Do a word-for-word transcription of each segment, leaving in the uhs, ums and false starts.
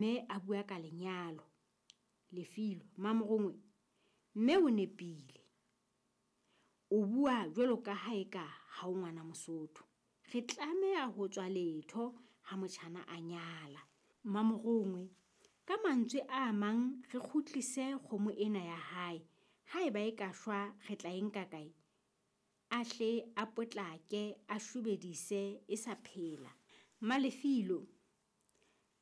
Mme a bua ka lenyalo. Lefilo, Mmamorongwe, mme o nepile. O bua jwalo ka ha eka ha o ngwana Mosotho. Re tlameha ho tswa letho ha motjhana a nyala. Mmamorongwe, ka mantswe a mang re kgutlise kgomo ena ya hae. Haeba e ka shwa re tla e nka kae? A hle a potlake a shobedise e sa phela. Mmalefilo,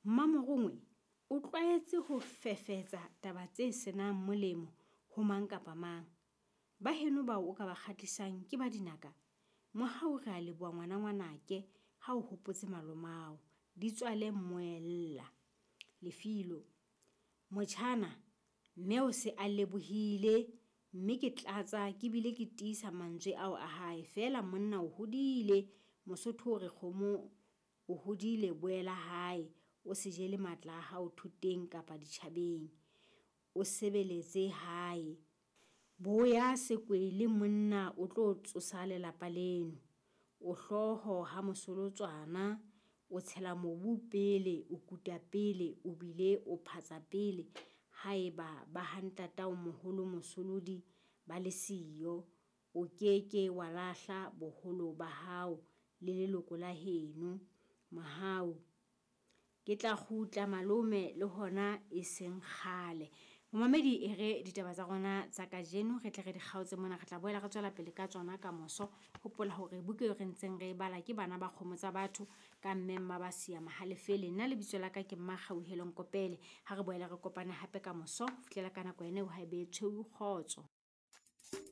Mmamorongwe o tlwaetse ho fefetsa taba tse senang molemo ho mang kapa mang. Ba heno bao o ka ba kgahlisang ke ba dinaka. Mohau re a leboha ngwana ngwanake ha o hopotse malomao. Di tswale mmoella. Lefilo, motjhana mme o se a lebohile mme ke tlatsa ke bile ke tiisa mantswe ao a hae. Feela monna o hodile, Mosotho o re kgomo o hodile boela hae. O se jele matla a hao thoteng kapa ditjhabeng. O sebeletse hae. Boya sekwele monna o tlo tsosa lelapa leno. O hlooho ha mosolotswana, o tshela mobu pele, o kuta pele, o bile o phatsa pele haeba ba ha ntatao moholo Mosolodi ba le siyo. O keke wa lahla boholo ba hao le leloko la heno. Mohau, ke tla kgutla malome le hona e seng kgale. Momamedi e re ditaba tsa rona tsa kajeno re tle re di kgaotse mona, re tla boela re tswela pele ka tsona ka moso. Hopola hore buka eo re ntseng re e bala ke Bana ba Kgomo Tsa Batho ka mme Mmabasia Mohalefele. Nna lebitso la ka ke Mmakgauhelo Nkopele. Ha re boela re kopane hape ka moso ho fihlela ka nako ena eo ha e be tshweu kgotso.